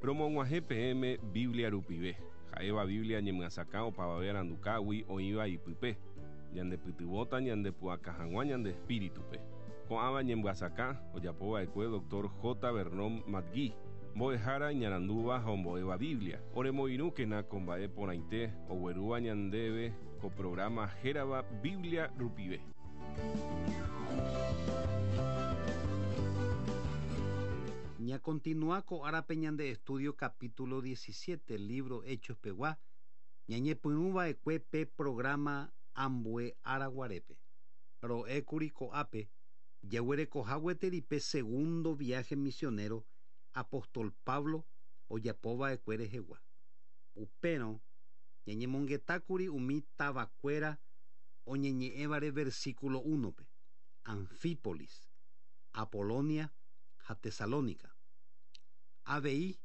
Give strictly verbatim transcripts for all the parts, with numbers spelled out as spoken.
Romog̃uahẽ peẽme Biblia rupive. Ha'éva Biblia ñemyasakã opavave arandukágui oĩva ipype. Ñandepytyvõta ñandepu'aka hag̃ua ñande espíritupe. Ko'ãva ñemyasakã ojapova'ekue doctor J. Vernon McGee, mbo'ehára iñarandúva ha ombo'éva Biblia. Oremoirũkena ko mba'e porãite oguerúva ñandéve ko programa hérava Biblia rupive. Ña continúa ko árape ñande estudio capítulo diecisiete, libro Hechos pegua, ñañepyrũva'ekue pe programa ambue áraguarépe. Ro'ékuri ko'ápe, jaguerekoha gueteri pe segundo viaje misionero apóstol Pablo ojapova'ekue rehegua. Upérõ ñañemongetákuri umi tavakuéra oñeñe'ẽvare versículo uno-pe, Anfípolis, Apolonia ha Tesalónica. Avei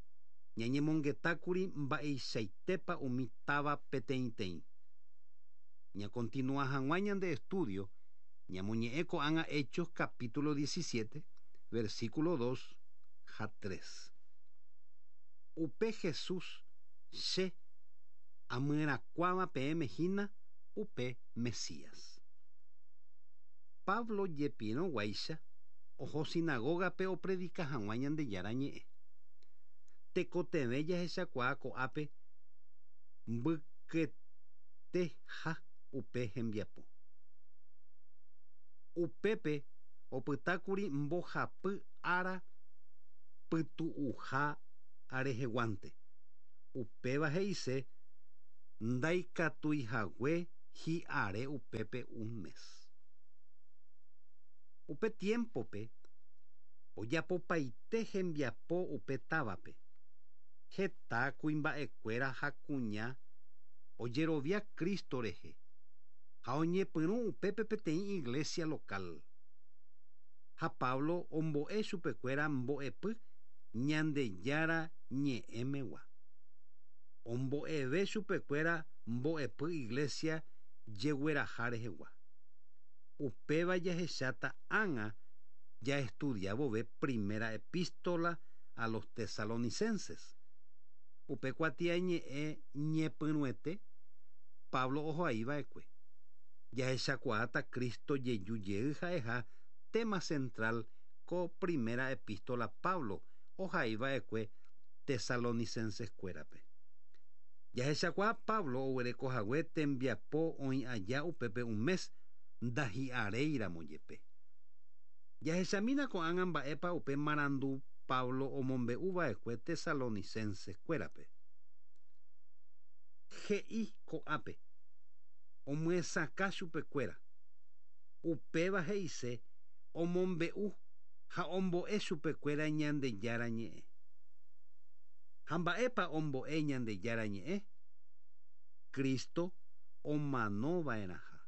ñañemongetákuri mba'eichaitépa umi táva peteĩteĩ. Ñakontinúa hag̃ua ñande estudio, ñamoñe'ẽ ko'ág̃a Hechos capítulo diecisiete, versículo dos ha tres. Upe Jesús che amyerakuáva peẽme hína upe Mesías. Pablo jepirõguáicha oho sinagogape opredika hag̃ua Ñandejára ñe'ẽ. Tekotevẽ jahechakuaa ko'ápe mbyketeha upe hembiapo. Upépe opytákuri mbohapy ára pytu'uha areheguánte. Upéva he'ise ndaikatuihague hi'are upépe un mes. Upe tiempope ojapopaite hembiapo upe távape. Heta kuimba'ekuéra ha kuña ojerovia Cristo rehe ha oñepyrũ upépe peteĩ iglesia local. Ha Pablo ombo'e chupekuéra mbo'epy Ñandejára ñe'ẽmegua. Ombo'eve chupekuéra mbo'epy iglesia jegueraha rehegua. Upéva jahecháta ág̃a jaestudiavove primera epístola a los tesalonicenses. Upe kuatiañe'ẽ ñepyrũete Pablo ohoaiva'ekue. Jahechakuaáta Cristo jeju jey ha'eha tema central ko primera epístola Pablo ohaiva'ekue tesalonicenses-kuérape. Jahechakuaa Pablo oguerekohague tembiapo oĩ aja upépe un mes ndahi'aréiramo jepe. Jahechamína ko'ág̃a mba'épa upe marandu Pablo omombe'uva'ekue tesalonicenses-kuérape. He'i ko'ápe omyesakã chupekuéra. Upéva he'ise omombe'u ha ombo'e chupekuéra Ñandejára ñe'ẽ. Ha mba'épa ombo'e Ñandejára ñe'ẽ? Cristo omanova'erãha.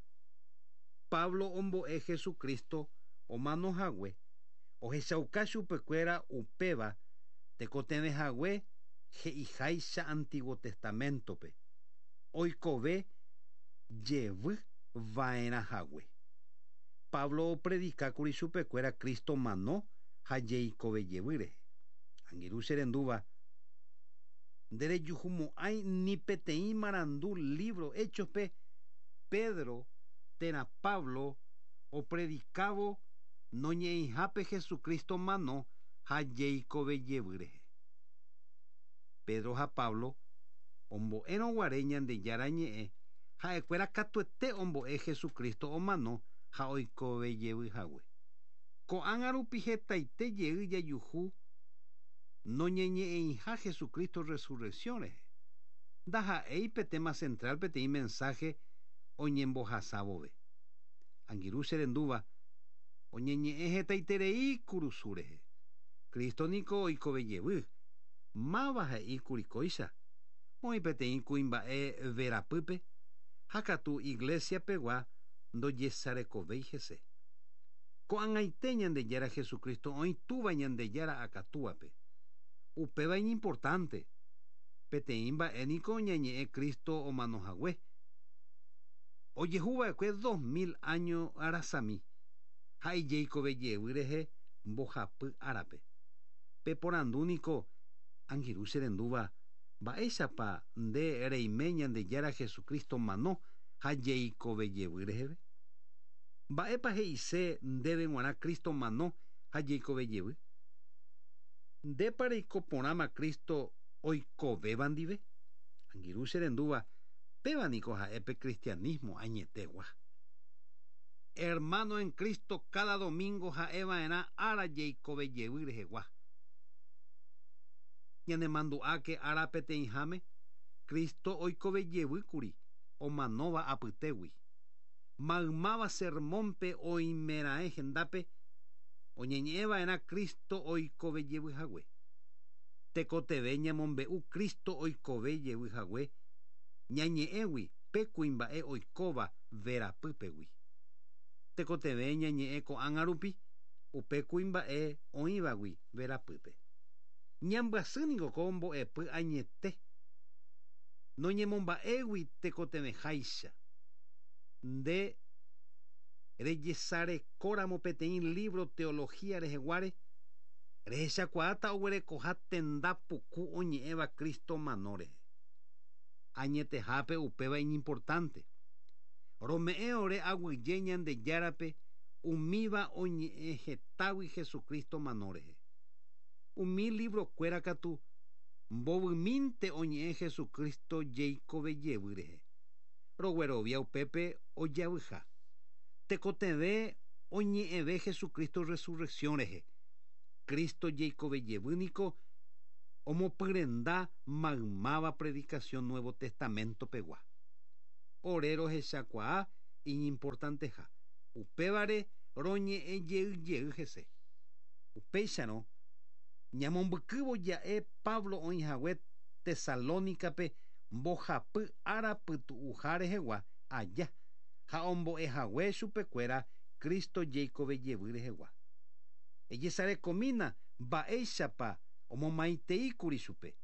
Pablo ombo'e Jesucristo omanohague ohechauka chupekuéra upéva tekotevẽhague he'iháicha Antiguo Testamentope. Oikove jevy va'erãhague. Pablo opredikákuri chupekuéra Cristo mano ha jeikove jevy rehe. Angirũ che rendúva, nderejuhumo'ãi ni peteĩ marandu libro Hechospe Pedro térã Pablo opredikávo noñe'ẽihápe Jesucristo mano ha jeikove jevy rehe. Pedro ha Pablo ombo'érõguare Ñandejára ñe'ẽ ha'ekuéra katuete ombo'e Jesucristo omano ha oikove jevy hague. Ko'ág̃a rupi hetaite jey jajuhu noñeñe'ẽiha Jesucristo resurrección rehe. Ndaha'éi pe tema central peteĩ mensaje oñembohasávove. Angirũ che rendúva, oñeñe'ẽ hetaiterei kurusu rehe. Cristo niko oikove jevy. Máva he'íkuri kóicha. Oĩ peteĩ kuimba'e verapýpe ha katu iglesia pegua ndojesarekovéi hese. Ko'ag̃aite Ñandejára Jesucristo oĩ túva Ñandejára akatúape. Upéva iñimportante. Peteĩ mba'e niko ñañe'ẽ Cristo omanohague. Ojehuva'ekue dos mil año arasami ha ijeikove jevy rehe mbohapy árape. Peporandu niko Angirũ che rendúva mba'éichapa nde reime Ñandejára Jesucristo mano ha jeikovejevy reheve. Mba'épa he'ise ndéve g̃uarã Cristo mano ha jeikovejevy. Ndépa reiko porãma Cristo oikovéva ndive. Angirũ che rendúva péva niko ha'e pe cristianismo añetegua. Hermano en Cristo cada domingo ha'eva'erã ára jeikovejevy rehegua. Ñanemandu'áke ára peteĩháme Cristo oikovejevýkuri omanóva apytégui. Maymáva sermónpe oimeraẽ hendápe oñeñe'ẽva'erã Cristo oikovejevyhague. Tekotevẽ ñamombe'u Cristo oikovejevyhague ñañe'ẽgui pe kuimba'e oikóva verapýpegui. Tekotevẽ ñañe'ẽ ko'ág̃a rupi upe kuimba'e oĩvagui verapýpe. Ñambyasýniko ko mbo'epy añete noñemomba'égui tekotevẽháicha. Nde rejesarekóramo peteĩ libro teología reheguáre rehechakuaáta oguerekoha tenda puku oñe'ẽva Cristo mano rehe. Añetehápe upéva iñimportante. Rome'ẽ ore aguyje Ñandejárape umíva oñe'ẽ hetágui Jesucristo mano rehe. Umi librokuéra katu mbovymínte oñe'ẽ Jesucristo jeikovejevy rehe. Roguerovia upépe ojavyha. Tekotevẽ oñe'ẽve Jesucristo resurrección rehe. Cristo jeikovejevy niko omopyrenda maymáva predicación Nuevo Testamento pegua. Ore rohechakuaa iñimportanteha. Upévare roñe'ẽ jey jey hese. Upéicharõ ñamombykývo ja'e Pablo oĩhague Tesalónicape mbohapy ára pytu'uha rehegua aja ha ombo'ehague chupekuéra Cristo jeikovejevy rehegua. Ejesarekomína mba'éichapa omomaiteíkuri chupe.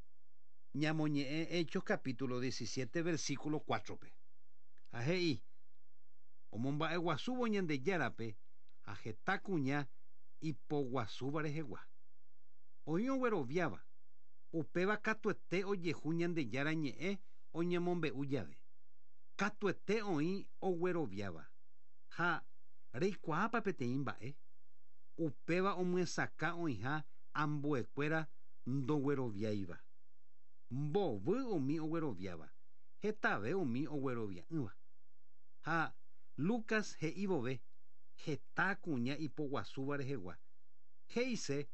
Ñamoñe'ẽ Hechos capítulo diecisiete versículo cuatro-pe. Ha he'i omomba'eguasúvo Ñandejárape ha heta kuña ipoguasúva rehegua. Oĩ ogueroviáva upéva katuete ojehu Ñandejára ñe'ẽ oñemombe'u jave. Katuete oĩ ogueroviáva ha reikuaápa peteĩ mba'e. Upéva omyesakã oĩha ambuekuéra ndogueroviáiva. Mbovy umi ogueroviáva, hetave umi oguerovia'ỹva. Ha Lucas he'i vove heta kuña ipoguasúva rehegua. He'ise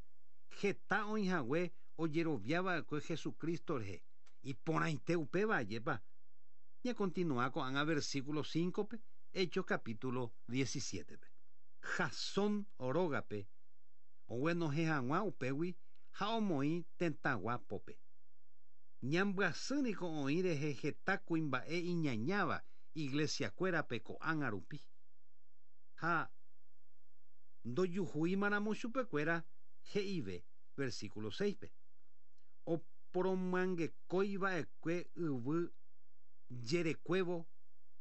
heta oĩhague ojeroviava'ekue Jesucristo rehe. Iporãite upéva ajépa. Ñakontinua ko'ág̃a versículo cinco-pe, Hechos capítulo diecisiete-pe. Jasón rógape oguenohẽ hag̃ua upégui ha omoĩ tetãgua pópe. Ñambyasýniko oĩ rehe heta kuimba'e iñañáva iglesiakuérape ko'ág̃a rupi. Ha ndojuhúimaramo chupekuéra he'ive versículo seis-pe. Oporomyangekóiva'ekue yvy jerekuévo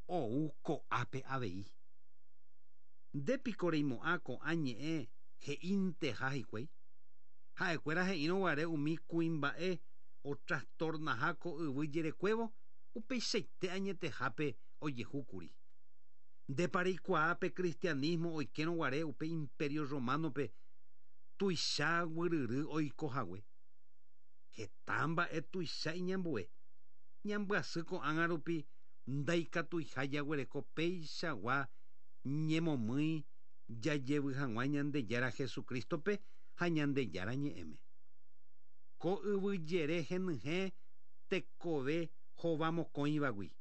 ou ko'ápe avei. Ndépiko reimo'ã ko'ã ñe'ẽ he'ínteha hikuái. Ha'ekuéra he'írõguare umi kuimba'e otrastornaha ko yvy jerekuévo upeichaite añetehápe ojehúkuri. Ndépa reikuaa pe cristianismo oikérõguare upe imperio romano-pe tuicha guyryry oikohague. Heta mba'e tuicha iñambue. Ñambyasy ko'ág̃a rupi ndaikatuiha jaguereko péichagua ñemomýi jajevy hag̃ua Ñandejára Jesucristo-pe ha Ñandejára ñe'ẽme. Ko yvy jere henyhẽ tekove hovamokõivagui.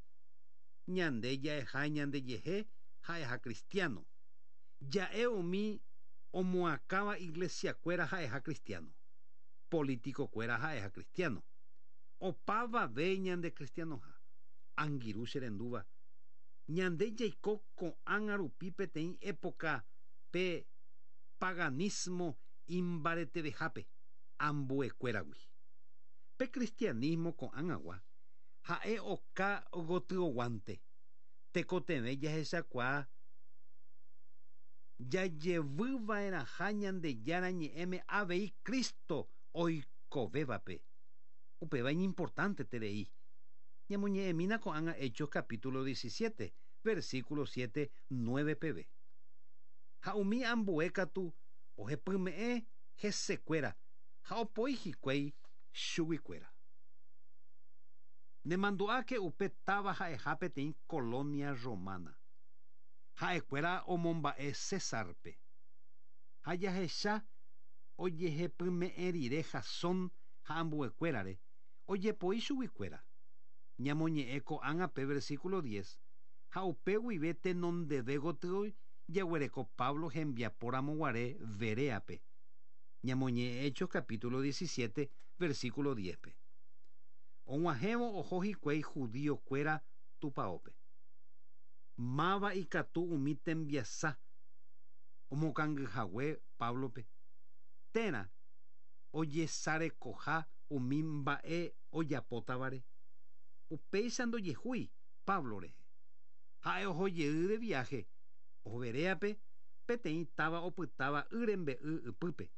Ñande ja'eha ñandejehe ha'eha cristiano. Ja'e umi omoakãva iglesiakuéra ha'eha cristiano. Politikokuéra ha'eha cristiano. Opavave ñande cristianoha. Angirũ che rendúva. Ñande jaiko ko'ág̃a rupi peteĩ época pe paganismo imbaretevehápe ambuekuéragui. Pe cristianismo ko'ág̃agua ha'e oka gotyoguánte. Tekotevẽ jahechakuaa jajevyva'erãha Ñandejára ñe'ẽme avei Cristo oikovévape. Upéva iñimportanteterei. Ñamoñe'ẽmína ko'ág̃a Hechos capítulo diecisiete, versículo siete, nueve peve. Ha umi ambue katu ohepyme'ẽ hesekuéra ha opoi hikuái chuguikuéra. Nemandu'áke upe táva ha'eha peteĩ colonia romana. Ha'ekuéra omomba'e Césarpe. Ha jahecha ojehepyme'ẽ rire Jasón ha ambuekuérare ojepoi chuguikuéra. Ñamoñe'ẽ ko'ág̃a pe versículo diez ha upe guive tenondeve gotyo jaguereko Pablo hembiaporamoguare Bereape. Ñamoñe'ẽ Hechos capítulo diecisiete, versículo diez-pe. Og̃uahẽvo oho hikuái judíokuéra tupaópe. Máva ikatu umi tembiasa omokangyhague Pablope. Térã ojesarekoha umi mba'e ojapótavare. Upéicha ndojehúi Pablo rehe. Ha'e oho jey de viaje oho Bereape peteĩ táva opytáva y rembe'y ypýpe.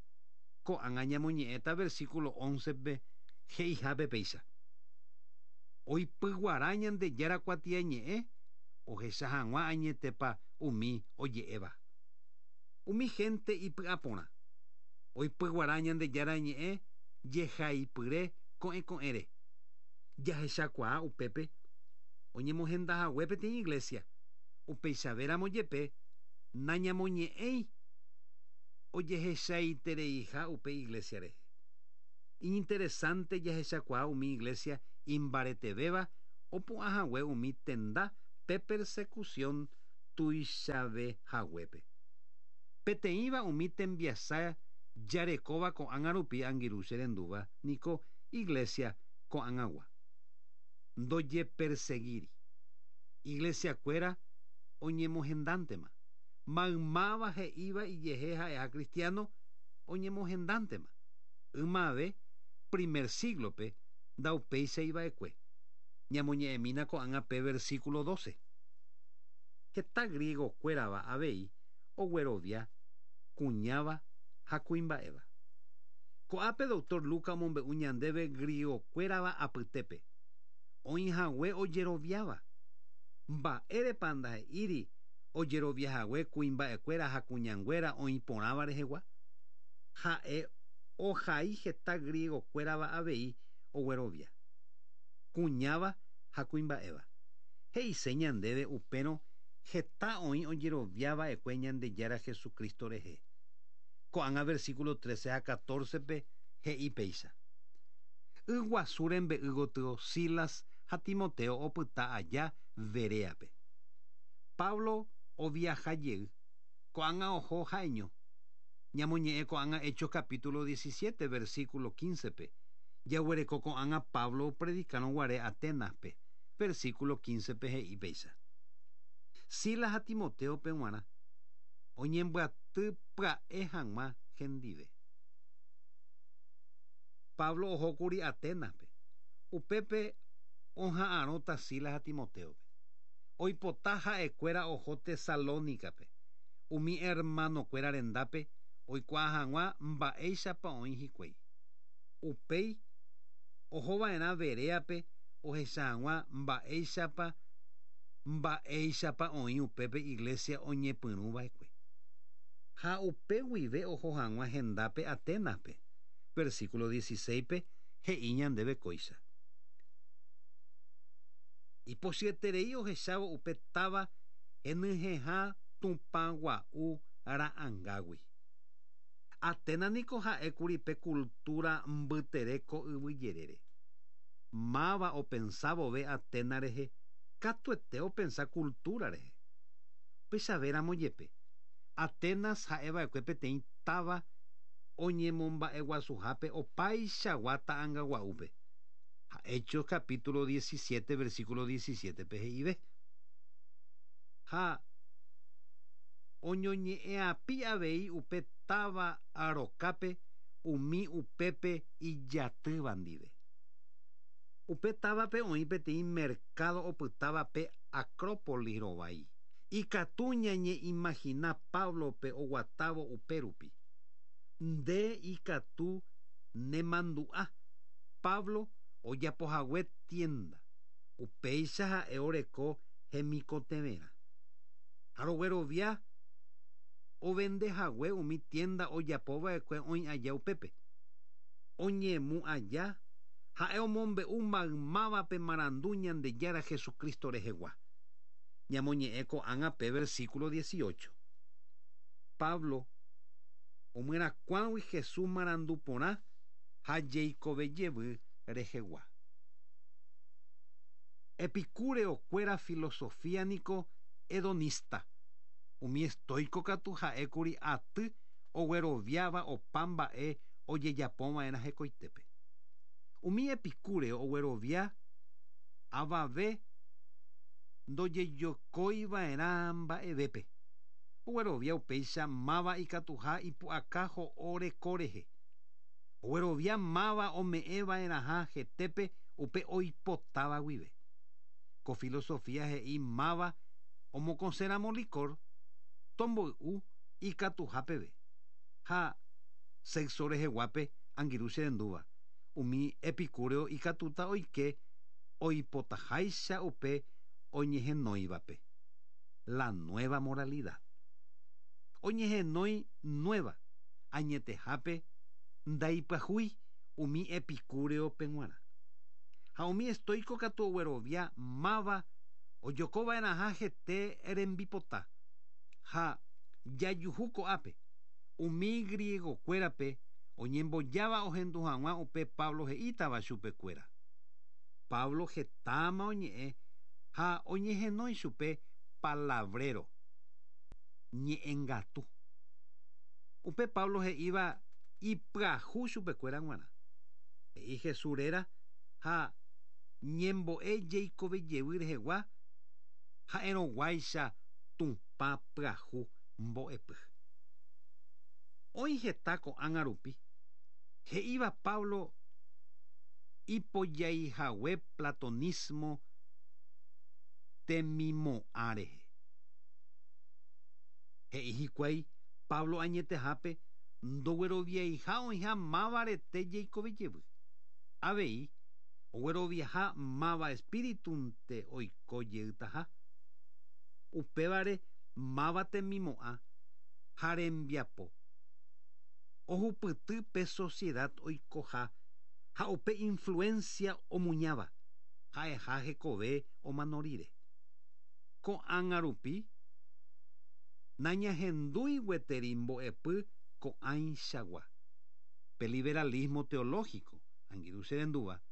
Ko'ág̃a ñamoñe'ẽta versículo once-pe he'ihápe péicha. Oipyguara Ñandejára kuatiañe'ẽ ohecha hag̃ua añetépa umi oje'éva. Umi gente ipy'aporã. Oipyguara Ñandejára ñe'ẽ jehaipyre ko'ẽko'ẽre. Jahechakuaa upépe oñemohendahague peteĩ iglesia. Upeichavéramo jepe nañamoñe'ẽi ojehechaitereiha upe iglesia rehe. Iñinteresante jahechakuaa umi iglesia imbaretevéva opu'ãhague umi tenda pe persecución tuichavehaguépe. Peteĩva umi tembiasa jarekóva ko'ág̃a rupi angirũ che rendúva niko iglesia ko'ag̃agua. Ndojeperseguíri. Iglesiakuéra oñemohendántema. Maymáva he'íva ijehe ha'eha cristiano oñemohendántema. Ymave primer siglo-pe ndaupéicha iva'ekue. Ñamoñe'ẽmína ko'ág̃a pe versículo doce. Heta griegokuérava avei oguerovia kuñáva ha kuimba'éva. Ko'ápe doctor Lucas omombe'u ñandéve griegokuérava apytépe. Oĩhague ojeroviáva. Mba'érepa ndahe'íri ojeroviahague kuimba'ekuéra ha kuñanguéra oĩporãva rehegua. Ha'e ohai heta griegokuérava avei oguerovia. Kuñáva ha kuimba'éva. He'ise ñandéve upérõ heta oĩ ojeroviava'ekue Ñandejára Jesucristo rehe. Ko'ág̃a versículo trece ha catorce-pe he'i péicha. Yguasu rembe'y gotyo Silas ha Timoteo opyta aja Bereape. Pablo oviaja jey ko'ág̃a oho ha'eño. Ñamoñe'ẽ ko'ág̃a Hechos capítulo diecisiete, versículo quince-pe. Jaguereko ko'ág̃a Pablo predicarõguare Atenas-pe, versículo quince-pe he'i péicha. Silas ha Timoteo-pe g̃uarã oñembyaty pya'e hag̃ua hendive. Pablo ohókuri Atenas-pe. Upépe oha'arõta Silas ha Timoteo-pe. Oipota ha'ekuéra oho Tesalónica-pe. Umi hermanokuéra rendápe oikuaa hag̃ua mba'éichapa oĩ hikuái. Upéi ohova'erã Bereape ohecha hag̃ua mba'éichapa mba'éichapa oĩ upépe iglesia oñepyrũva'ekue. Ha upe guive oho hag̃ua hendápe Atenas-pe. Versículo dieciséis-pe he'i ñandéve kóicha. Ipochyeterei ohechávo upe táva henyhẽha Tupã gua'u ra'ãngágui. Atenas niko ha'ékuri pe cultura mbytere ko yvyjerére. Máva opensávove Atenas rehe, katuete opensa cultura rehe. Upéichavéramo jepe. Atenas ha'eva'ekue peteĩ táva oñemomba'eguasuhápe opaichagua ta'ãngagua'úpe. Ha Hechos capítulo diecisiete, versículo diecisiete-pe he'ive. Ha oñoñe'ẽapi avei upe táva arokápe umi upépe ijatýva ndive. Upe távape oĩ peteĩ mercado opytáva pe Acrópolis rovái. Ikatu ñañeimagina Pablope oguatávo upérupi. Nde ikatu nemandu'a Pablo ojapohague tienda upéicha ha'e oreko hemikotevẽrã. Ha roguerovia ovendehague umi tienda ojapova'ekue oĩ aja upépe. Oñemu aja ha'e omombe'u maymávape marandu Ñandejára Jesucristo rehegua. Ñamoñe'ẽ ko'ág̃a pe versículo dieciocho. Pablo omyerakuãgui Jesús marandu porã ha jeikovejevy rehegua. Epicúreo kuéra filosofía niko hedonista. Umi estoico katu ha'ékuri aty ogueroviáva opa mba'e ojejapova'erã hekoitépe. Umi epicúreo oguerovia avave ndojejokoiva'erã mba'evépe. Oguerovia upéicha máva ikatuha ipu'aka ho'o reko rehe. Oguerovia máva ome'ẽva'erãha hetépe upe oipotáva guive. Ko filosofía he'i máva omokõséramo licor tomboy'u ikatuha peve. Ha sexo reheguápe angirũ cherendúva. Umi epicúreo ikatúta oike oipotaháicha upe oñehenóivape. La nueva moralidad. Oñehenói nueva añetehápe ndaipyahúi umi epicúreope g̃uarã. Ha umi estoico katu oguerovia máva ojokova'erãha hete rembipota. Ha jajuhu ko'ápe umi griegokuérape oñembojáva ohendu hag̃ua upe Pablo he'ítava chupekuéra. Pablo hetáma oñe'ẽ ha oñehenói chupe palabrero, ñe'ẽngatu. Upe Pablo he'íva ipyahu chupekuéra g̃uarã. He'i Jesús réra ha ñembo'e jeikovejevy rehegua ha'erõguáicha Tupã pyahu mbo'epy. Oĩ heta ko'ág̃a rupi he'íva Pablo ipojaihague platonismo temimo'ã rehe. He'i hikuái Pablo añetehápe ndogueroviaiha oĩha máva rete jeikovejevy. Avei ogueroviaha máva espíritunte oiko jeytaha. Upévare máva temimo'ã ha rembiapo. Ohupyty pe sociedad oikoha ha upe influencia omuñáva ha'eha hekove omano rire. Ko'ág̃a rupi nañahendúi gueteri mbo'epy ko'ãichagua. Pe liberalismo teológico angirũ cherendúva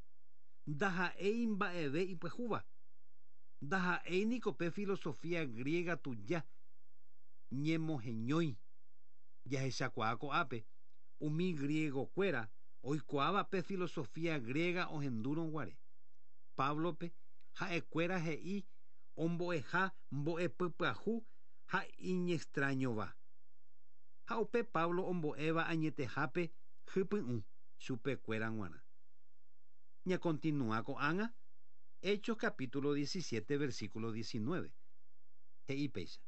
ndaha'éi mba'eve ipyahúva. Ndaha'éi niko pe filosofía griega tuja ñemoheñói. Jahechakuaa ko'ápe umi griegokuéra oikuaáva pe filosofía griega ohendúrõ guare. Pablope ha'ekuéra he'i ombo'eha mbo'epy pyahu ha iñextrañova. Ha upe Pablo ombo'éva añetehápe hypy'ũ chupekuéra g̃uarã. Ñakontinúa ko'ág̃a Hechos capítulo diecisiete versículo diecinueve. He'i péicha.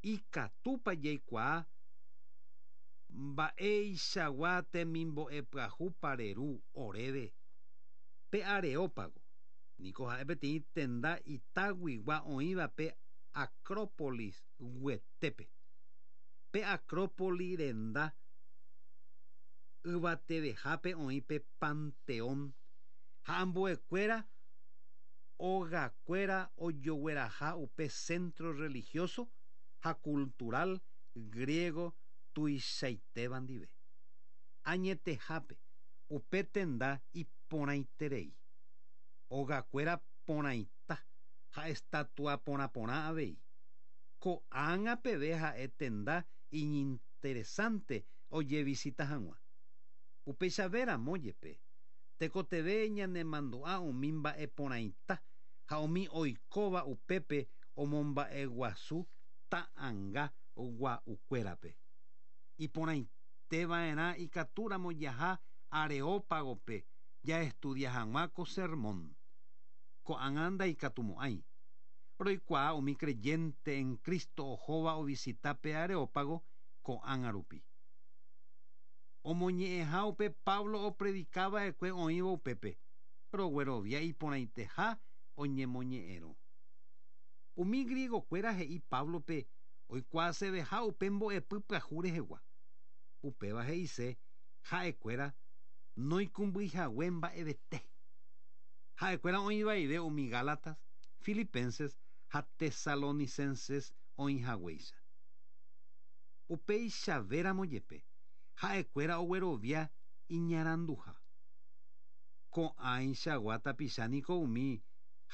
Ikatúpa jaikuaa mba'eichagua temimbo'e pyahu pareru oréve. Pe Areópago niko ha'e peteĩ tenda itaguigua oĩva pe Acrópolis guetépe. Pe Acrópolis renda yvatevehápe oĩ pe Panteón ha ambuekuéra ogakuéra ojogueraha upe centro religioso ha cultural griego tuichaitéva ndive. Añetehápe upe tenda iporãiterei. Ogakuéra porãita ha estatua porãporã avei. Ko'ág̃a peve ha'e tenda iñinteresante ojevisita hag̃ua. Upéichavéramo jepe tekoteve ñanemandu'a umi mba'e porãita ha umi oikóva upépe omomba'eguasu ta'ãnga gua'ukuérape. Iporãiteva'erã ikatúramo jaha Areópagope jaestudia hag̃ua ko sermón. Ko'ág̃a ndaikatumo'ãi. Roikuaa umi creyente en Cristo ohóva ovisita pe Areópago ko'ág̃a rupi. Omoñe'ẽha upe Pablo opredicava'ekue oĩva upépe. Roguerovia iporãiteha oñemoñe'ẽrõ. Umi griegokuéra he'i Pablope oikuaaseveha upe mbo'epy pyahu rehegua. Upéva he'ise ha'ekuéra noikũmbyihague mba'evete. Ha'ekuéra oĩvaive umi Gálatas, Filipenses ha Tesalonicenses oĩhaguéicha. Upeichavéramo jepe ha'ekuéra oguerovia iñaranduha. Ko'ãichagua tapicha niko umi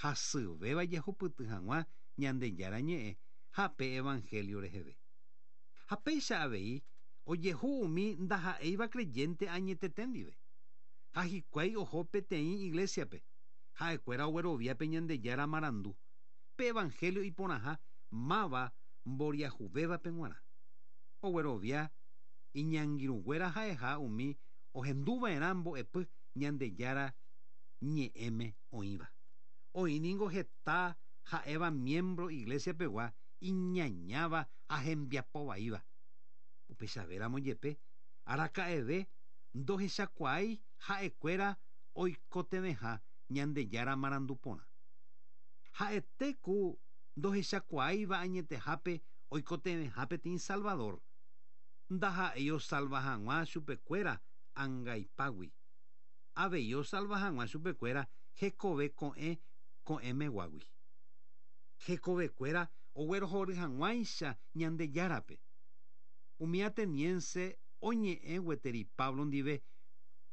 hasyvéva jehupyty hag̃ua Ñandejára ñe'ẽ ha pe evangelio reheve. Ha péicha avei ojehu umi ndaha'éiva creyente añetete ndive. Ha hikuái oho peteĩ iglesiape. Ha'ekuéra ogueroviápe Ñandejára marandu. Pe evangelio iporãha máva mboriahuvévape g̃uarã. Oguerovia iñangirũnguéra ha'eha umi ohenduva'erã mbo'epy Ñandejára ñe'ẽme oĩva. Oĩningo heta ha'éva miembro iglesia pegua iñañáva ha hembiapovaíva. Upechavéramo jepe araka'eve ndohechakuaái ha'ekuéra oikotevẽha Ñandejára marandu porã. Ha'ete ku ndohechakuaáiva añetehápe oikotevẽha peteĩ Salvador. Ndaha'éi osalva hag̃ua chupekuéra angaipágui. Avei osalva hag̃ua chupekuéra hekove ko'ẽ ko'ẽmeguágui. Hekovekuéra oguerohory hag̃uáicha Ñandejárape. Umi ateniense oñe'ẽ gueteri Pablo ndive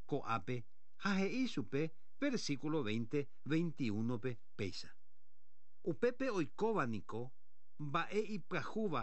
ko'ápe ha he'i chupe versículo veinte, veintiuno pe péicha. Upépe oikóva niko mba'e ipyahúva